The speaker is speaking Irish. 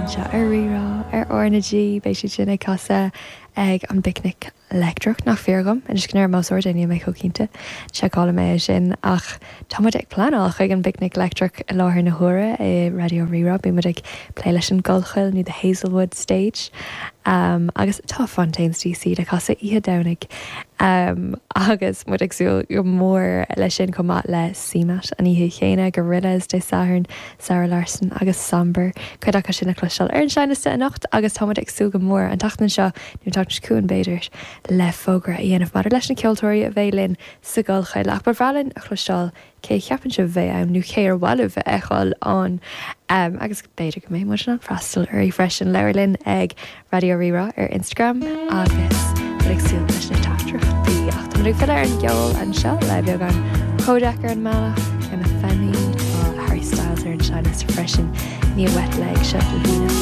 anseo ar Rí-Rá ar R na G. Beidh siad sin ag casadh ag an bPicnic Leictreach, nach fíor dhom? Anois go ndeirim os ard é, níl mé chomh cinnte. Seiceálfaidh mé é sin. Ach tá muid ag pleanáil chuig an bPicnic Leictreach i láthair na huaire i Raidió Rí-Rá. Bíonn muid ag plé leis an gCollchoill nó The Hazelwood Stage. Agus tá Fontaines DC le casadh oíche Domhnaigh. Agus muid ag súil go mór leis sin chomh maith le CMAT an oíche chéanna, Gorillaz Dé Sathairn, Zara Larsson agus Sombre. Cuid acu sin le cloisteáil ar an seinnliosta anocht agus tá muid ag súil go mór an tseachtain seo, nó an tseachtain seo chugainn b'fhéidir, le fógra a dhéanamh maidir leis na ceoltóirí a bheidh linn sa gCollchoill. Ach ba bhreá linn a chloisteáil cé a cheapann sibh a bheidh ann nó cé ar mhaith libh a fheiceáil ann agus b'fhéidir go mbeidh muid in ann freastal uirthi freisin. Labhair linn ag Raidió Rí-Rá ar Instagram agus muid ag súil leis na teachtaireachtaí. Ach tá muid ag filleadh ar an gceol anseo le beagán Kojaque ar an mbealach, Kemi Femi, tá Harry Styles ar an seinnliosta freisin, ní Wet Leg seo.